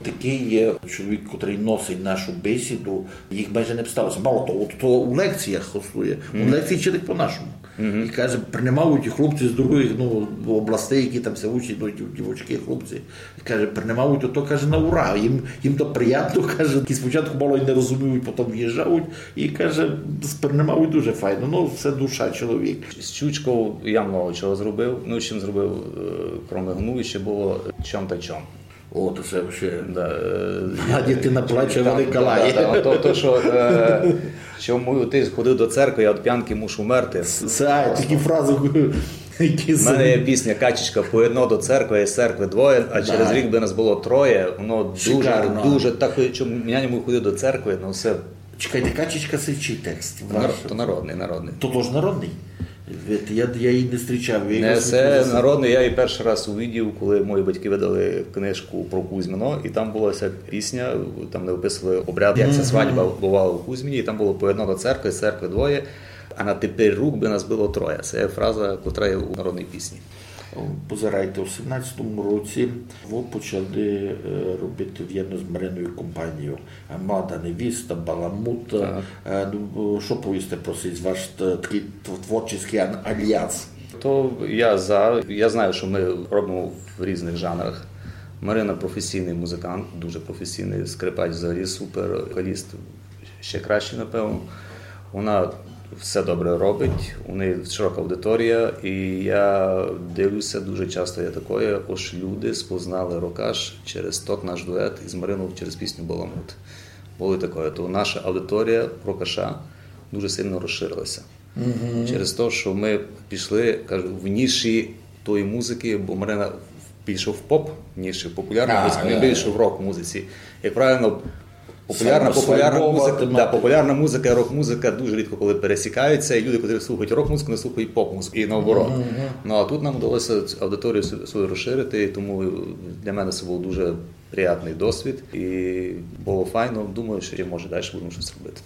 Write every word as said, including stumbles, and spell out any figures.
Такый є чоловік, котрый носить нашу бесіду, їх майже не обсталося. Мало того, от то у лекціях гостує. У лекції вчить по-нашому. І каже, принимають і хлопці з других, ну, областей, які там ся учать, ну, дів-, дівочки, хлопці. І каже, принимають то, каже, на ура. Їм, їм то приятно, каже, які спочатку мало й не розуміють, потім в'їжджають. І каже, сприймають дуже файно. Ну, це душа чоловік. З Чучков я много чого зробив. Ну, чим зробив, е, кроме гну, ще було чом та чом. О, то це вообще. Да, е, Мала дитина плаче, там, велика да, лає. Да, да, то, то, що, е, чому ти ходив до церкви, я від п'янки мушу мерти. Це, а, такі фрази, які У мене є пісня «Качечка поєдно до церкви, а з церкви двоє», а через рік би нас було троє. Воно дуже, шикарно, дуже так, що я не мушу ходити до церкви, ну, все. Чекайте, «Качечка» — це чий текст? Ваш? Нар-, то народний, народний. То тож народний? Видите, я, я її не зустрічав. Я Не, її це слухав. Народний, я її перший раз увидів, коли мої батьки видали книжку про Кузьмино, і там була ця пісня, там не описували обряд, як ця свадьба бувала у Кузьмині, і там було «поєдно до церкви, з церкви двоє, а на тепер рук би нас було троє». Це фраза, котра є у народній пісні. Позирайте, у сімнадцятому році ви почали, е, робити вірно з Мариною компанію. Е, «Млада невіста», «Баламут». Так. Е, ну, що повісти про сей ваш т-, такий тв-, творчий ан-, альянс? То я за. Я знаю, що ми робимо в різних жанрах. Марина професійний музикант, дуже професійний, скрипач взагалі супер, вокаліст ще краще, напевно. Вона все добре робить, у неї широка аудиторія, і я дивлюся, дуже часто є такое, ож люди спознали Рокаш через тот наш дует із Мариною через пісню «Баламут». Було і такое. То наша аудиторія Рокаша дуже сильно розширилася. Через те, що ми пішли, кажу, в ніші тої музики, бо Марина більше в поп, ніж в популярній музиці, ми більше в рок-музиці. Як правильно, популярна, популярна музика, да, популярна музика і рок-музика дуже рідко коли пересікаються, і люди, які слухають рок-музику, не слухають поп-музику, і наоборот. Ну, а тут нам вдалося цю аудиторію сю-, свою розширити, і тому для мене це був дуже приємний досвід, і було файно. Думаю, що ще, може, далі будемо щось робити.